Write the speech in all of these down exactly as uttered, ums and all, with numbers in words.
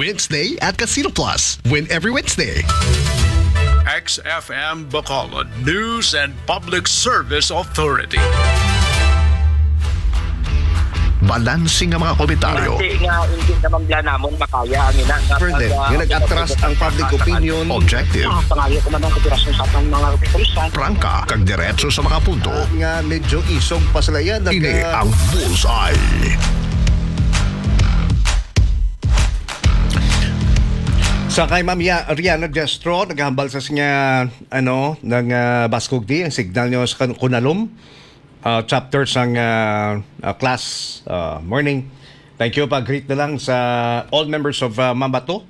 Wednesday at Casino Plus. Win every Wednesday. X F M Bacolod News and Public Service Authority. Balanse nga mga komentaryo. Hindi nga, hindi naman bla namon makaya ang ina nga Further, pag, ah, nga nag-atras ang public opinion. Objective. Ah, pangayo ko man ang kooperasyon sa atong mga kapulisan. Prangka, kag diretso sa mga punto. Nga medyo isog pa sila yan. Ini ang Bullseye. Sa kay Ma'am Ya-, Riana Destro, naghambal sa siya, ano, nang, ah, baskog di ang signal niyo sa kan-, Kunalom, ah, chapter sang, ah, ah, class, ah, morning. Thank you. Pa-greet na lang sa all members of, ah, Mambato,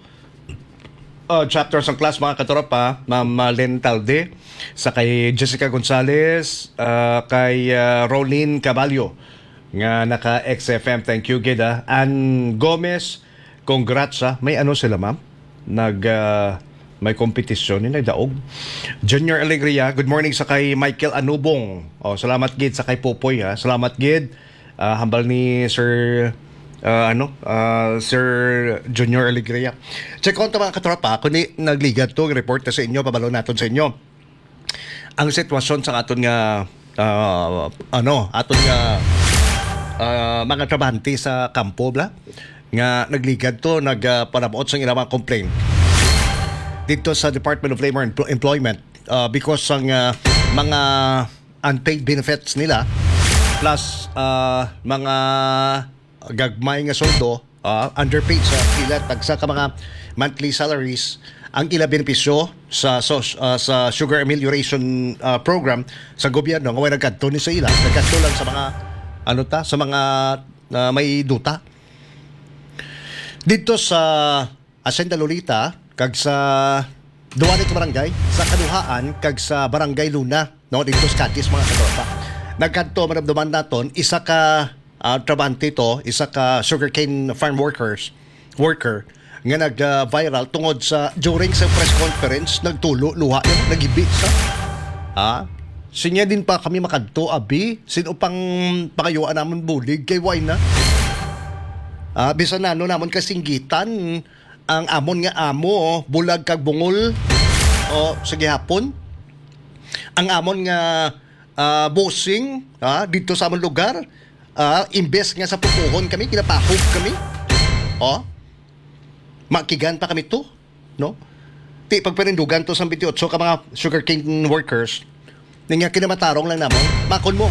ah, chapter sang class, mga katropa, Ma'am, ah, Len Talde, sa kay Jessica Gonzalez, ah, kay, ah, Rolin Caballo, nga naka X F M. Thank you, gid, ah. Ann Gomez, congrats, ah. May ano sila, ma'am? Nag, ah, may kompetisyon ni nagdaog. Junior Alegria, good morning sa kay Michael Anubong. Oh, salamat gid sa kay Popoy, ha. Salamat gid. Ah, hambal ni Sir, ah, ano, ah, Sir Junior Alegria. Check on to, mga katropa, kung ni nagligad to, report na sa inyo, pabalo naton sa inyo. Ang sitwasyon sa aton nga, ah, ano, aton nga, ah, mga trabahante sa kampo, bla, nga nagligad to, nagpanabuot sa ilang mga complaint dito sa Department of Labor and Employment, ah, because sang, ah, mga unpaid benefits nila, plus, ah, mga gagmay nga sweldo, ah, underpaid sa ila, tagsa ka mga monthly salaries, ang ila benepisyo sa, sa, ah, sa Sugar Amelioration, ah, Program sa gobyerno, nga way nagkadto ni sa ila, nagkadto lang sa mga, ano ta, sa mga, ah, may duta. Dito sa Hacienda Lolita, kag sa duwa ni ka barangay, sa Kaduhaan, kag sa Barangay Luna, no, dito sa Cadiz, mga katropa. Nagkadto, maramdaman naton, isa ka, ah, trabahante to, isa ka sugarcane farm workers, worker, nga nag, ah, viral tungod sa, during sa press conference, nagtulo, luha yun, nagibi sa, ah, sinya din pa kami makadto, abi, sino pang pangayuan namon bulig, kay why na? Ah, bisan nano namon kasinggitan, ang amon nga amo, bulag kag bungol, o, sa gihapon. Ang amon nga, ah, bossing, ah, dito sa amon lugar, ah, imbes nga sa pupuhon kami, ginapahog kami. O, makigan pa kami to, no? Ti pagparindugan to sa twenty-eight ka mga sugarcane workers. Ning nga kinamatarong lang namon, makon mo.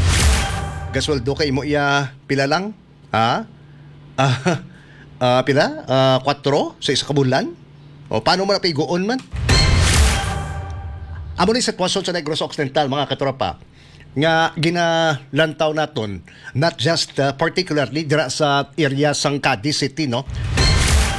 Gasweldo kay imo iya pila lang? Ha? Ah, ah, pila? Ah, kwatro sa isa ka bulan? O, paano mo napiguon man? Amo ni sitwasyon sa Negros Occidental, mga katropa, nga ginalantaw naton, not just, ah, particularly dira sa area sang Cadiz City, no?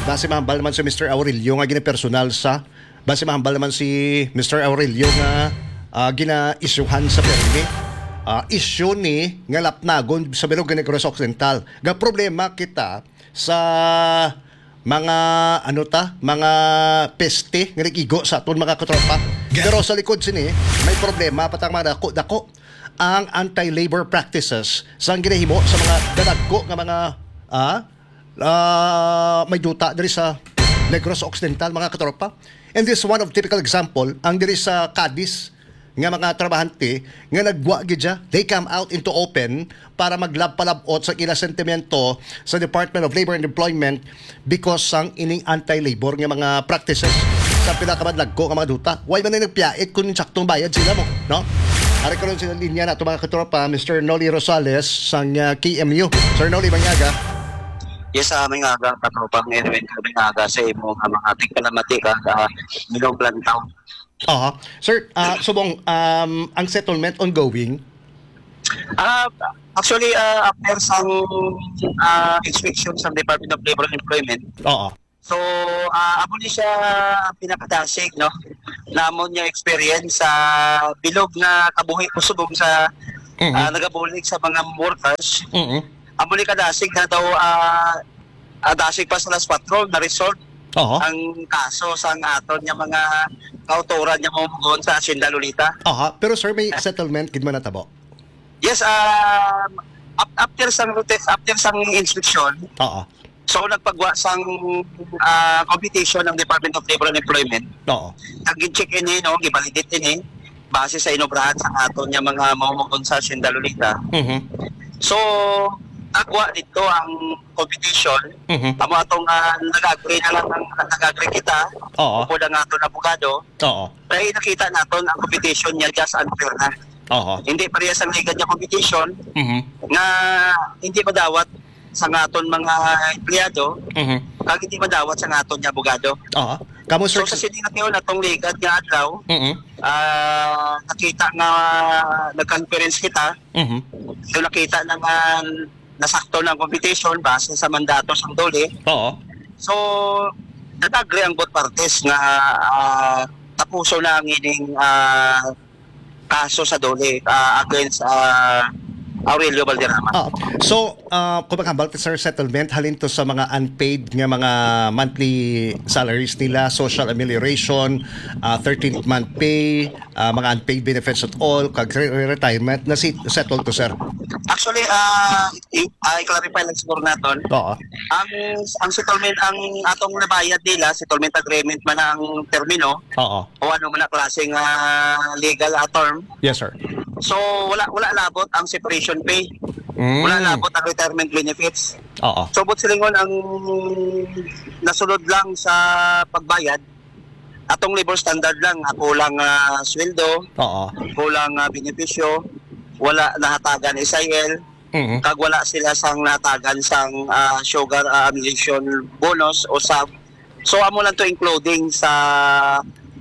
Basi mahambal naman si Mister Aurelio nga ginapersonal sa Basi mahambal naman si Mister Aurelio nga, ah, gina-isyuhan sa permi. Ah, isyu ni nga lapnagon sa bilog nga Negros Occidental. Ga problema kita sa mga, ano ta, mga peste nga nag-igo sa aton mga katropa. Pero sa likod sini, may problema pa tang mga dako-dako ang anti-labor practices sang ginahimo sa mga dadagko nga mga, ah, ah, may duta diri sa Negros Occidental, mga katropa. And this is one of typical example, ang diri sa Cadiz nga mga trabahante nga nagwa gid siya, they come out into open para maglab-palab-ot sa ila sentimento sa Department of Labor and Employment because sang ining anti-labor nga mga practices sa pila ka madlagko nga mga duta. Why man na nagpiyait kung saktong bayad sila mo, no? Ari karon sa linya nato, mga katropa, Mister Nolly Rosales sang, ah, K M U. Sir Nolly, manyaga. Yes, ah, may nga aga, katropang Edwin, may nga aga sa imo nga mga tigpalamati ka, ah, Bilog Lantaw. Aha. Sir, ah, subong, um, ang settlement ongoing? Ah, actually, ah, after sang, ah, inspection sa Department of Labor and Employment, Oo. So, ah, amo ni siya ang pinakadasig, no? Namon nga experience sa bilog nga kabuhi ko subong sa, Mhm. ah, nagabulig sa mga workers. Mhm. Amo ni kadasig na daw, ah, ah, dasig pa sa alas kwatro na result Oho. ang kaso sa ang aton nga mga kautoran nga mamugon sa Hacienda Lolita. Aha, pero sir, may settlement gid man natabo? Yes, ah, ap-, after sang route, after sang inspection, Oo. So, nagpagwa sang, ah, competition ang Department of Labor and Employment. Oo. Nag-check ini, no, gibalidate ini base sa inobrahan sa aton nga mga mamumugon sa Hacienda Lolita. Mhm. So, nagwa dito ang competition. Mhm. Amo atong, ah, nag-agree na lang ang, nag-agree kita. Oo. Upod ang aton abogado. Oo. Kay nakita naton ang competition niya just unfair na. Oo. Hindi parehas ang legal niya competition Mhm. nga hindi madawat sa aton mga empleyado, Mhm. kag hindi madawat sa aton nga abogado. Oo. Kamo, sir, So, sa sini nga tion, atong ligad nga adlaw, Mhm. ah, nakita nga nag-conference kita. Mhm. So, nakita na nga nasakto na ang competition base sa mandato sang DOLE. Oo. So, nag-agree ang both parties nga, ah, tapuso na ang ining, ah, kaso sa DOLE, ah, against, ah, Aurelio Valderrama. Ah, so, ah, kung maghambal ta, sir, settlement, halin to sa mga unpaid nga mga monthly salaries nila, social amelioration, ah, thirteenth month pay, ah, mga unpaid benefits at all, kag re-, re-, retirement, na si-, settled to, sir? Actually, ah, i-, ah, i-clarify lang siguro naton. Oo. Ang, ang settlement, ang atong nabayad nila, settlement agreement man ang termino, Oo. o ano man ang klase nga legal, ah, term. Yes, sir. So, wala, wala labot ang separation pay. Mm. Wala labot ang retirement benefits. Oo. So, but silingon ang nasulod lang sa pagbayad, atong labor standard lang, ah, kulang, ah, sweldo, Oo. kulang, ah, benepisyo, wala nahatagan S I L, Mhm. kag wala sila sang nahatagan sang, ah, sugar, ah, amelioration bonus o sub. So, amo lang to including sa,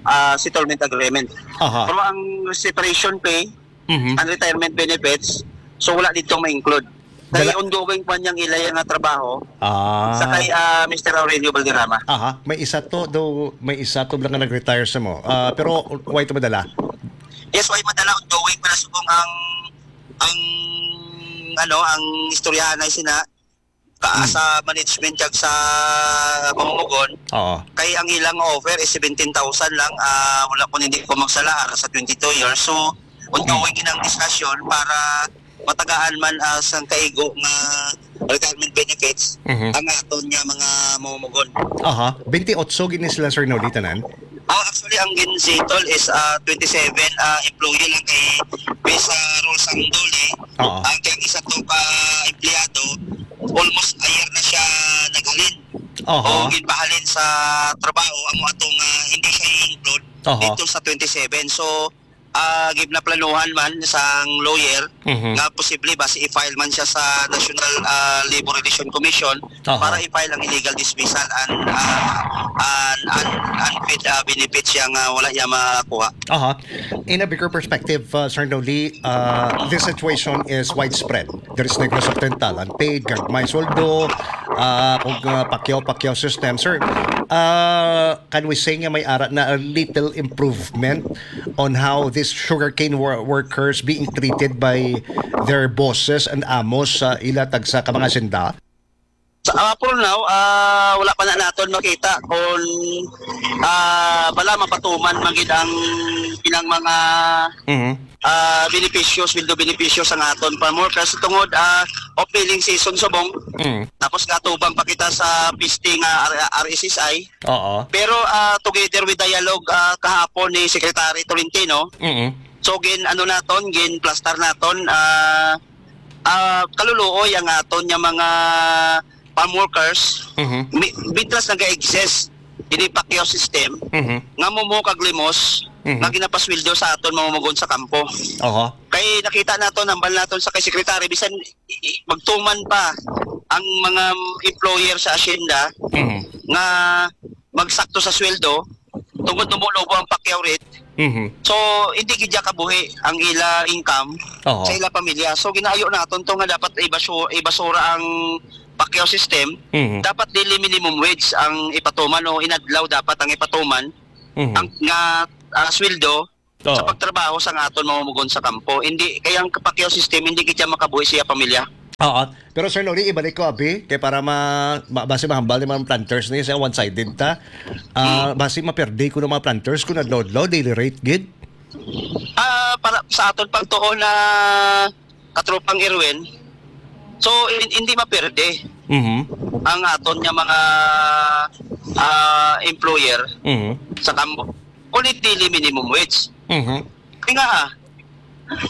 ah, settlement agreement. Aha. Pero ang separation pay, Mhm. ang retirement benefits, so wala dito ma-include. Kay Dala- ongoing pa niyang ilay nga trabaho, Ah. sa kay, ah, Mister Aurelio Valderrama. Aha, may isa to, do, may isa to lang nga nag-retire sa mo. Ah, pero why to madala? Yes, why madala? Ongoing pa na subong ang, ang, ano, ang istoryahan ay sina, ka-, Hmm. sa management kag sa pamumugon. Oo. Kay ang ilang offer is seventeen thousand lang, ah, wala ko, hindi ko magsala, ara sa twenty-two years. So, ongoing Mm. inang discussion para matagaan man, ah, sang kaigo nga retirement benefits Mhm. ang aton nga mga mamumugon. Aha. Twenty-eight gini sila, sir, no, di tanan? Ah, actually, ang gin-settle is, ah, twenty-seven, ah, employee lang kay based sa rules ang DOLE. Oo. Ang kay isa to ka empleyado, almost a year na siya naghalin. Oho. O ginpahalin sa trabaho, amo atong, ah, hindi siya i-include Oho. dito sa twenty-seven. So, ah, ginaplanuhan man sang lawyer Mhm. nga posible basi i-file man siya sa National, ah, Labor Relation Commission Oho. para i-file ang illegal dismissal and, ah, and, and unpaid, ah, benefits siya nga wala niya makuha. Aha. In a bigger perspective, uh, Sir Noli, uh, this situation is widespread. There is Negros Occidental, unpaid, gagmay sweldo, uh, kung, uh, pakyaw-pakyaw system. Sir, uh, can we say nga may ara na a little improvement on how these sugarcane wor-, workers being treated by their bosses and amos sa ila tagsa ka mga senda? Sa, ah, for now, ah, wala pa na naton makita kung, ah, bala mapatuman man gid ang ilang mga, Mhm. ah, benepisyo, sweldo benepisyo sa aton farm workers tungod, ah, off-billing season subong. Mm. Tapos gatubang pa kita sa piste nga R-, R S S I. Oo. Pero, ah, together with dialogue, ah, kahapon ni Secretary Tolentino, Mm. so gin, ano naton, gin plastar naton, ah, ah, kaluluoy ang aton nga mga farm workers, Mhm. mi-, mitras naga-exist ini pakyaw system, Mhm. nga mumo kag limos, Mhm. nga ginapasweldo sa aton mamumugon sa kampo. Oho. Kay nakita naton, hambal naton sa kay secretary, bisan i-, i-, magtuman pa ang mga employer sa asyenda Mhm. nga magsakto sa sweldo, tungod numulobo ang pakyaw rate. Mhm. So, hindi gid kabuhi ang ila income Oo. sa ila pamilya. So, ginaayo naton to nga dapat ibasu-, ibasura ang pakyaw system. Mhm. Dapat dili minimum wage ang ipatuman o inadlaw dapat ang ipatuman Mhm. ang nga, ah, sweldo sa Oo. pagtrabaho sa nga aton mamumugon sa kampo. Hindi, kay ang pakyaw system, hindi gid siya makabuhi siya pamilya. Oo. Pero, Sir Noli, ibalik ko, abi, kay para ma-, ma-, basi mahambal ni mga planters ni sa one-sided ta. Ah, Mm. basi maperde ko ng mga planters kung adlaw-adlaw, daily rate gid. Ah, para sa aton pagtuon na katropang Erwin, so, hin-, hindi maperde. Mhm. ang aton nga mga, ah, employer Mhm. sa kampo, kulit dili minimum wage. Mhm. Kaya nga,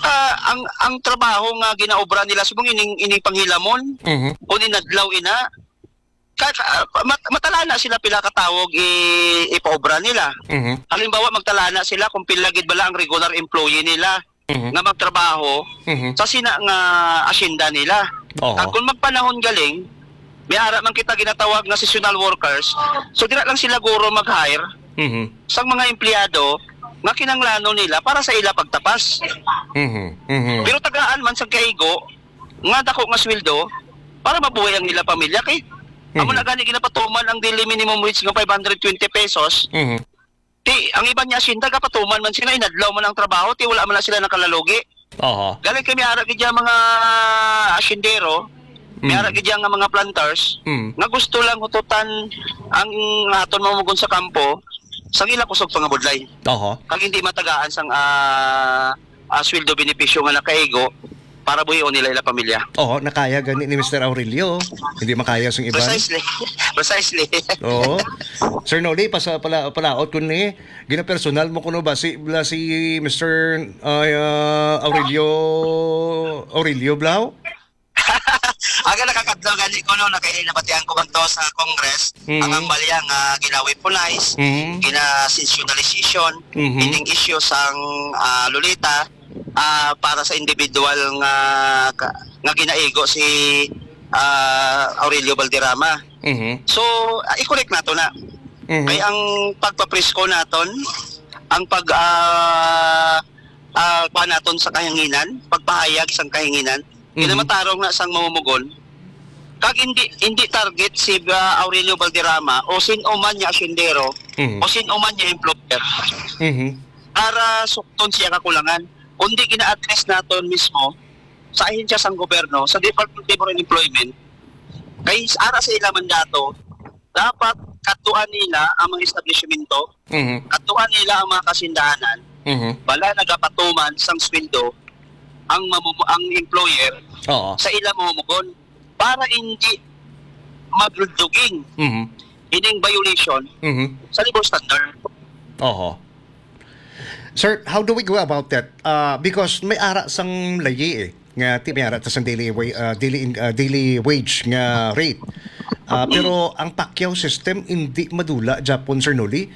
ah, ang, ang trabaho nga ginaobra nila, subong ining, ining panghilamon, Mhm. kung inadlaw ina, ka, ka, mat-, matalana sila pila ka tawog i-, ipaobra nila. Mhm. Halimbawa, magtalana sila kung pila gid bala ang regular employee nila Mhm. nga magtrabaho Mhm. sa sina nga asyenda nila. Oho. Kag kung magpanahon galing, may ara man kita ginatawag nga seasonal workers, so dira lang sila guro mag-hire Mhm. sang mga empleyado nga kinanglanon nila para sa ila pagtapas. Mhm. Mhm. Pero tagaan man sa kaigo nga dako nga sweldo para mabuhay ang ila pamilya kay amo Mhm. na gani ginapatuman ang daily minimum wage nga five hundred twenty pesos. Mhm. Ti, ang iban nga asyenda, gapatuman man sila, inadlaw man ang trabaho, ti wala man na sila nakalalugi. Oho. Galing kami ara gid ang mga asyendero, may Mm. ara gid ang mga planters, Mm. nga gusto lang hututan ang aton mamugon sa kampo, sa ila kusog pangabudlay. Oho. Kag hindi matagaan sang, ah, ah, sweldo benepisyo nga nakaigo para buhion nila ila pamilya. Oho, nakaya gani ni Mister Aurelio. Hindi makaya sang iban. Precisely. Precisely. Oo. Sir Noli, pasa-, pala-, palaot ko ni, ginapersonal mo kuno ba si, bla si Mister, ah, ah, Aurelio, Aurelio Blau? Aga nakakadlaw gani ko, no, nakay nabatian ko man to sa Congress, Mm. ang ambalya nga ginaweaponize, Mm. gina-sensationalization, Mhm. ining issue sang, ah, Lolita, ah, para sa individual nga, ka-, nga ginaigo si, ah, Aurelio Valderrama. Mhm. So, ah, i-correct nato na. Mhm. Kay ang pagpapresko naton, ang pag, ah, ah, kuha naton sa kahanginan, pagpahayag sang kahanginan, Mhm. kinamatarong na sang mamumugon. Kag hindi, hindi target si, ah, Aurelio Valderrama o sin-o man nga asyendero Mhm. o sin-o man nga employer Mhm. para sukton siya kakulangan, kundi gina-address naton mismo sa ahensya sang gobyerno, sa Department of Labor and Employment, kay ara sa ila mandato, dapat kadtuan nila ang mga establishmento, Mhm. kadtuan nila ang mga kasindahanan, Mhm. bala nagapatuman sang sweldo ang mamumu-, ang employer Oo. sa ila mamumugon para hindi magludluging Mhm. ining violation Mhm. sa labor standard. Oho. Sir, how do we go about that? Ah, because may ara sang layi eh, nga ti may ara ta sang daily wa-, ah, daily in-, ah, daily wage nga rate. Ah, pero ang Pacquiao system hindi madula gyapon, Sir Noli?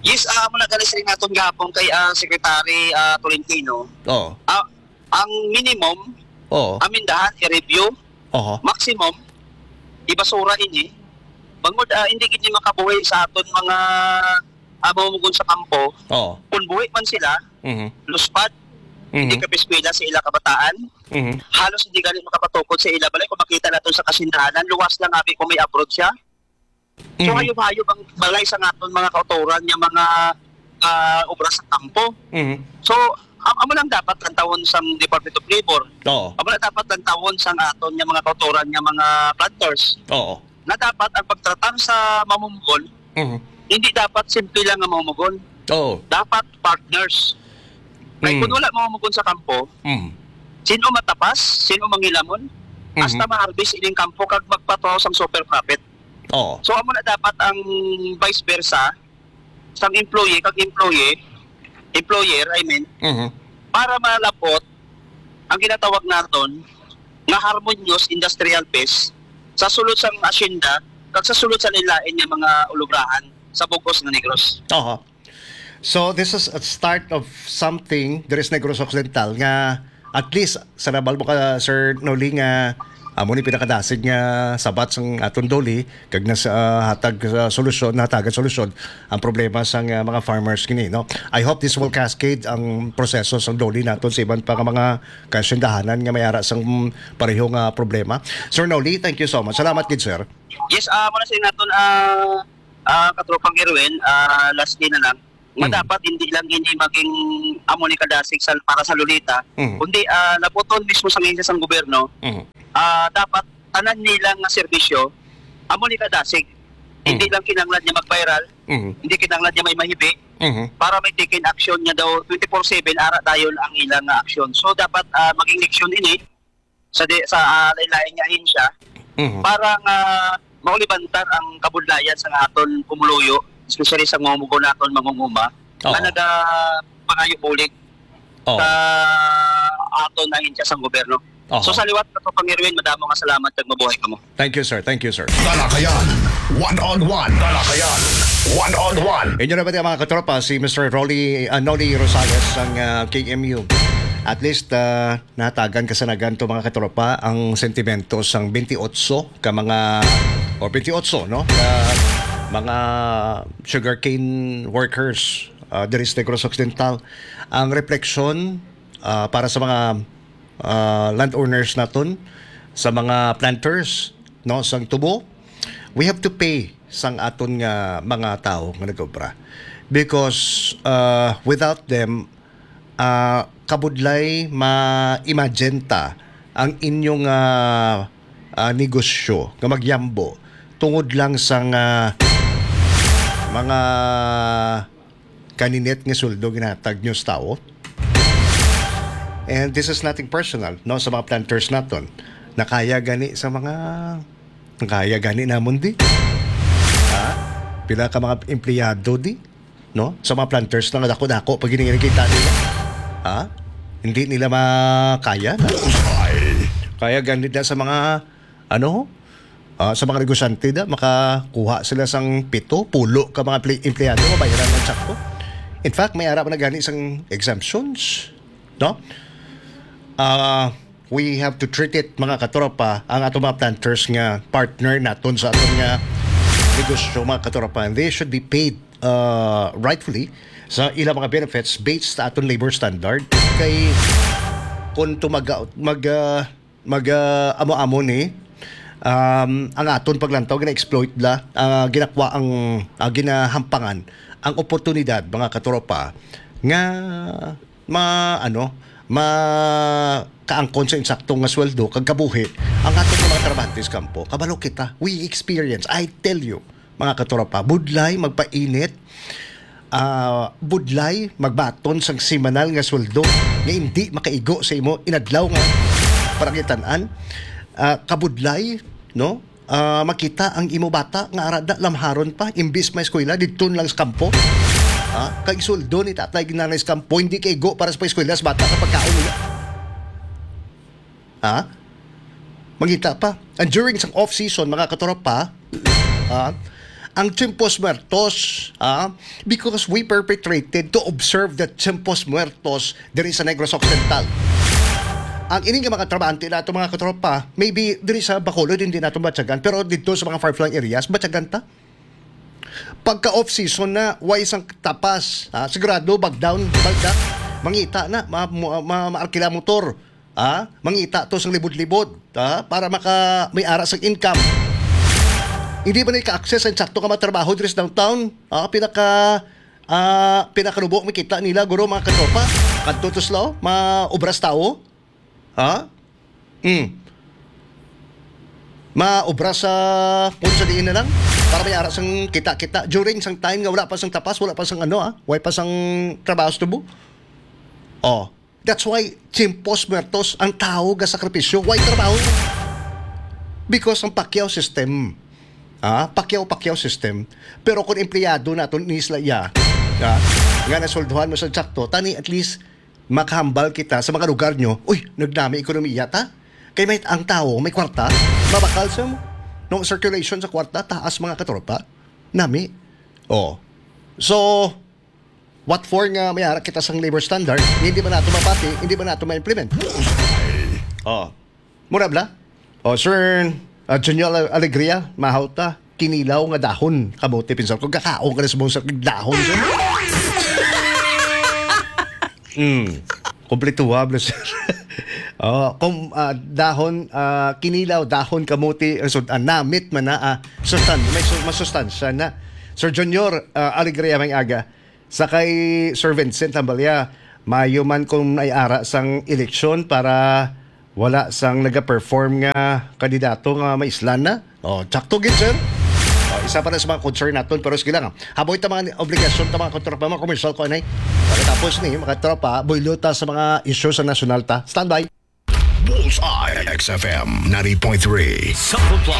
Yes, ah, amo na gani siling naton gahapon kay, ah, Secretary, ah, Tolentino. Oo. Ah, ang minimum, Oo. Amendahan, i-review. Oho. Maximum, ibasura ini. Bangod, ah, hindi gid ni makabuhi sa aton mga, ah, mamumugon sa kampo. Oo. Kung buhi man sila, Mhm. luspad, Mhm. hindi kapiskwela sa ila kabataan. Mhm. Halos hindi gani makapatukod sa ila balay. Kung makita naton sa kasindahanan, luwas lang abi kung may abroad siya. So, Mhm. hayop-hayop ang balay sa aton mga kautoran nga mga, ah, obra sa kampo. Mhm. So, am-, amo lang dapat lantawon sang Department of Labor. Oo. Amo lang dapat lantawon sang aton nga mga kautoran nga mga planters. Oo. Na dapat ang pagtratar sa mamumugon, Mhm. hindi dapat simple lang nga mamumugon. Oo. Dapat partners. Kay Mm. kung wala mamumugon sa kampo, Mm. sino matapas, sino mangilamon, Mhm. hasta ma-harvest ining kampo kag magpatuhaw sang super profit. Oo. So, amo na dapat ang vice versa, sang employee kag employee, employer, I mean, Mhm. para malab-ot ang ginatawag naton nga harmonious industrial peace sa sulod sang asyenda kag sa sulod sa lain-lain nga mga ulubrahan sa bug-os nga Negros. Oho. So, this is a start of something diri sa Negros Occidental nga at least sa nabal mo ka, Sir Noli, nga amo ni pinakadasig nga sabat sang aton DOLE kag nas-, ah, hatag sa solusyon, nahatagan solusyon ang problema sang, ah, mga farmers kini, no? I hope this will cascade ang proseso sang DOLE naton sa iban pa nga mga kasindahanan nga may ara sang, mm, pareho nga problema. Sir Noli, thank you so much. Salamat gid, sir. Yes, ah, muna sa naton, ah, ah, katropang Erwin, ah, lastly na lang, nga Mm. dapat hindi lang ini maging amo ni kadasig sa, para sa Lolita, Mm. kundi, ah, labuton mismo sa ngayon sang gobyerno, Mm. ah, dapat tanan nila nga serbisyo amo ni kadasig. Hindi Mm. lang kinahanglan niya mag-viral, Mm. hindi kinahanglan niya may mahibi, Mm. para may taken action niya daw twenty-four seven, ara dayon ang ilang nga aksyon. So, dapat, ah, maging leksyon ini sa di-, sa, ah, lain-lain nga ahensya, Mhm. Para nga maulibantar ang kabudlayan sa aton pumuluyo, especially sa mga mugo naton mangunguma, nga Oo. nagapangayo bulig Oo. sa aton ahensya sang gobyerno. Oho. So, sa liwat, Katropang Erwin, madamo nga salamat kag mabuhay kamo. Thank you, sir. Thank you, sir. Talakayan, one on one. Talakayan, one on one. Inyo na ba, mga katropa, si Mister Rolly, ah, Nolly Rosales, ang, ah, K M U? At least, ah, natagan kasanagan to, mga katropa, ang sentimento sang twenty-eight ka mga, o twenty-eight, no? Ka mga sugarcane workers, ah, diri sa Negros Occidental. Ang refleksyon, ah, para sa mga, ah, landowners naton, sa mga planters, no, sang tubo, we have to pay sang aton nga mga tawo nga nagobra. Because, ah, without them, ah, kabudlay ma-imagine ta ang inyong, ah, ah, negosyo nga magyambo tungod lang sang, ah, mga kaninit nga sweldo ginatag nyo sa tawo. And this is nothing personal, no, sa mga planters naton. Nakaya gani sa mga, nakaya gani namon di. Ha? Pila ka mga empleyado di, no? Sa mga planters na dako-dako pag ginigita nila. Ha? Hindi nila makaya na. Kaya gani na sa mga, ano, ah, sa mga negosyante na makakuha sila sang pito, pulo ka mga pli-, empleyado, mabayaran ng sakto. In fact, may ara pa na gani sang exemptions, no? Ah, we have to treat it, mga katropa, ang ato mga planters nga partner naton sa aton nga negosyo, mga katropa. And they should be paid, ah, rightfully sa ilang mga benefits based sa aton labor standard. Kay kung to mag, mag, ah, mag, ah, amo-amo ni, um, ang aton paglantaw, gina-exploit la, ah, ginakwa ang, ah, ginahampangan ang oportunidad, mga katropa, nga ma-, ano, makaangkon sa insakto nga sweldo kag kabuhi ang aton mga trabahante sa kampo. Kabalo kita, we experience, I tell you, mga katropa, budlay magpainit, ah, budlay magbaton sang semanal nga sweldo nga hindi makaigo sa imo inadlaw nga pananglitan-an, ah, kabudlay, no? Ah, makita ang imo bata nga ara da lamharon pa, imbis may eskwela, didto lang sa kampo. Ah, kag sweldo ni tatay ginanay sa kampo, hindi kaigo para sa eskwela sa bata sa pagkaon nila. Ha? Mangita pa. And during sang off-season, mga katropa, ha, ang Tiempos Muertos, ha, because we perpetrated to observe the Tiempos Muertos diri sa Negros Occidental. Ang ini nga mga trabahante nato, mga katropa, maybe diri sa Bacolod hindi nato matyagan, pero dito sa mga far-flung areas, matyagan ta. Pagka off-season na, way sang tapas, ha, sigurado, bagdown, bagdak, mangita na, ma-, ma-, ma-, maarkila motor, ha, mangita to sang libod-libod, ha, para maka-, may ara sang income. Hindi ba na ka-access ang sakto ka matrabaho diri sa downtown? Ha, pinaka, ah, pinakanubo makita nila, guro, mga katropa. Kadto to sila, oh, maubras tawo. Ha? Mm. Maubra sa kung sa diin na lang para may ara sang kita-kita during sang time nga wala pa sang tapas, wala pa sang ano, ah, way pa sang trabaho sa tubo. Oh, that's why Tiempos Muertos ang tao ga sakripisyo, way trabaho. Because ang pakyaw system, ah, pakyaw-pakyaw system, pero kung empleyado naton ni sila iya, ah, nga nasulduhan mo sa sakto, tani at least makahambal kita sa mga lugar nyo, uy, nagnami ekonomiya ta. Kay may ang tao, may kwarta, mabakal sa no circulation sa kwarta, taas mga katropa. Nami. Oh. So, what for nga may ara kita sang labor standard, hindi ba nato mapati, hindi ba nato ma-implement? Oh. Mura bla? Oh, Sir, ah, Junior Alegria, mahaw ta, kinilaw nga dahon, kamote, pinsan ko, kakaon ka na sa mga dahon, sir. Mm. Kompletuha, bla, sir. Oh, kung, ah, dahon, ah, kinilaw, dahon, kamote, ang sud-, ah, namit man na, ah, sustan-, may su-, masustansya na. Sir Junior, ah, Alegria, may aga. Sa kay Sir Vincent Tambalia, maayo man kung may ara sang eleksyon para wala sang nagaperform nga kandidato nga maislan na. Oh, tsakto gid, sir. Oh, isa pa na sa mga concern naton, pero sige lang, ah. Haboy ta mga obligasyon ta, mga katropa, mga commercial ko, anay. Pagkatapos ni, mga katropa, buylo ta sa mga isyu sa nasyonal ta. Standby. Bullseye, X F M ninety point three. Sa Frontline,